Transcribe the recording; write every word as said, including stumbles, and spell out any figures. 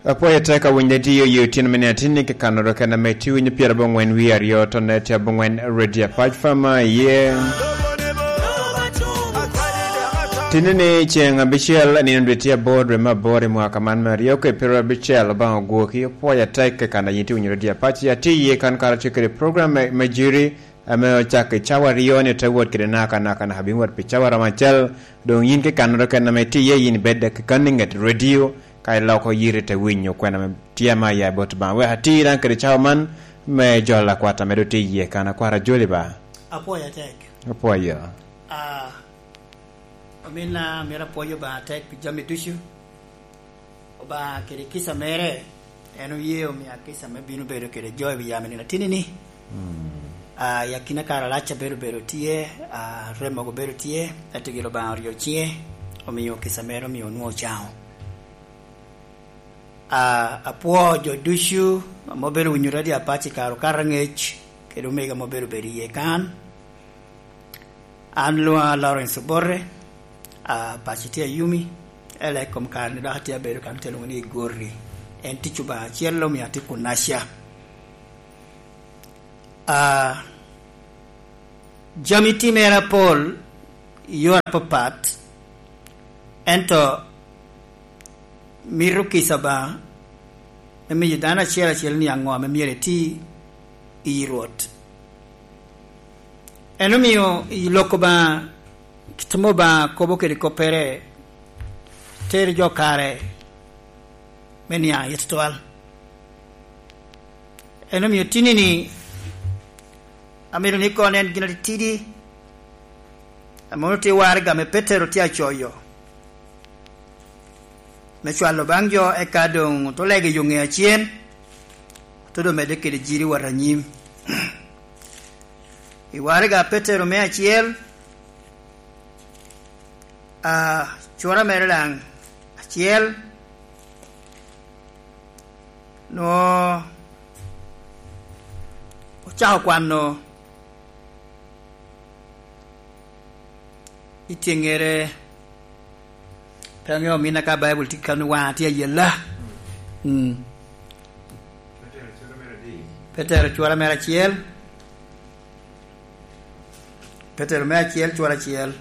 Apwoyo atek awinyo radio i otyeno me nino atinni, kekannoro kena me tye winyo pyerabongwen wie aryo, tonne tye abongwen Radio Apac Fama iye. Tinni ni ceŋ abicel, nino dwe tye aboro, dwe me aboro i mwaka man me aryo kede pyerabicel, Obaŋa ogwoki, apwoyo atek kekana yin tye winyo Radio Apac, atye iye kan kara tye kede program me, me jiri, ame ocak i cawa aryo ni ote wot kede naka naka naka bino wot pi cawa romo acel. Doŋ yin kekannoro kena ame itye iye, yin ibed dek i kan i ŋet radio, ka iloko yiri te winyo kwena ame tye ame aya i bot Obaŋa. Wek ati daŋ kede cawa man me jolo akwat ame doŋ tye iye kan, akwat ajoli ba. Apwoyo atek. Apwoyo. Ah, ominna, myero apwoyo Obaŋa atek pi jami ducu. Obaŋa kede kica mere, en oye omia kica me bino bedo kede jo i wi yamo nino atinni-ni. Mm. Ah, i akina kare alac abedo bedo tye, ah, rem mogo bedo tye, ento gin Obaŋa oryo ciŋe, omio kica mere omio onwoŋo ocaŋo. Ah, apwoo jo ducu ame obedo winyo Radio Apac i kare okato aŋec, kede omego ame obedo bedo iye kan. An lwoŋa Lawrence Obote, a, paco tye Ayumi, ela i kom kare-ni dok atye abedo kan te lwoŋo ni Igorri. En tic Obaŋa acel omio atye kunaca. A, jami timere apol i yore apapat, ento mito kica Obaŋa me miyo dano acel acel ni aŋo ame myero eti i Rwot. En omio i lok Obaŋa, kit ame Obaŋa kobo kede koppere, tero jo kare me niaŋ aye tutwal. En omio tinni-ni, amito ni koŋ en gin atitidi, ame onwoŋo tye waraga ame Petero tye acoyo me cwalo baŋ jo, eka doŋ ote lego i yo ŋe acen, ote doŋ medde kede jiri wot anyim. I waraga Petero me acel, a, cura mere daŋ acel, nwoŋo ocako kwano i tyeŋŋere, pe aŋeo ominna ka Baibul tye kano waŋa tye ayella. Mm. Petero cura mere acel. Petero me acel, cura acel.